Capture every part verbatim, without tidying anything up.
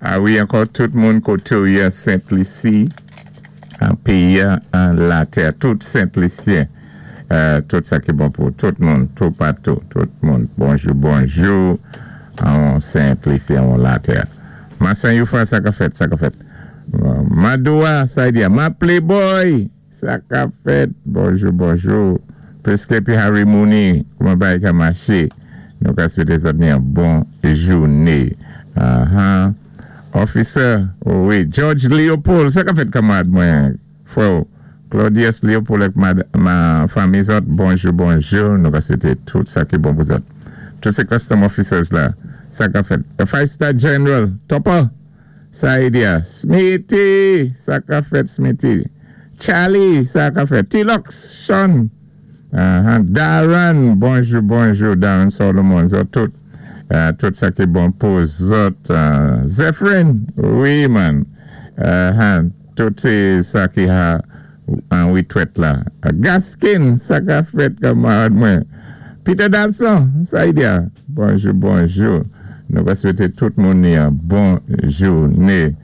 A wi, ankò tout moun koté ou yé Sent Lisi, an péyi an latè, tout Sent-Lisyen, euh, tout sa ki bon pou tout moun, tou patou, tout moun. Bonjou, bonjou, an Sent Lisi, an latè. Masan Youfa, sa ka fèt, sa ka fèt. Madoua, sa y di, ma playboy, sa ka fèt. Bonjou, bonjou. Preske pi Harry Mooney, kouman bagay ka maché. Nou ka swété zòt ni an bon jouné. Uh-huh. Officer, oh wi, George Leopold, sa ka fèt, kanmarad mwen, frè, Claudius Leopold ak ma, ma fanmi zòt, bonjou, bonjou, nou ka swété tout sa ki bon pou zòt. Tout sé custom officers la, sa ka fèt. The Five Star General, Topper, sa y di a, Smithy, sa ka fèt, Smithy. Charlie, sa ka fèt. T-Lux, Sean, uh-huh. Darren, bonjou, bonjou, Darren Solomon, zòt tout. Uh, tout sa ki bon pou zòt. Uh, Zephyrin, wi man. Uh, tout sé sa ki a an witwèt la. Uh, Gaskin, sa ka fèt, kanmarad mwen. Peter Dalson, sa y di a. Bonjou, bonjou. Nou ka swété tout moun ni an bon jouné.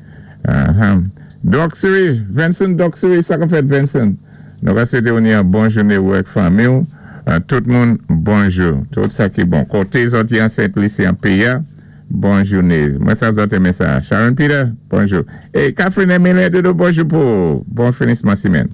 Uh -huh. Doxery, Vincent Doxery, sa ka fèt, Vincent. Nou ka swété ou ni an bon jouné ou ak fanmi ou. Uh, tout moun, bonjou. Tout sa ki bon. Koté zòt an Sent Lisi an péyi, bon jouné. Mwen sa zòt enmen sa. Sharon Peter, bonjou. É Catherine Emile Dodo, bonjou pou bon finisman simèn.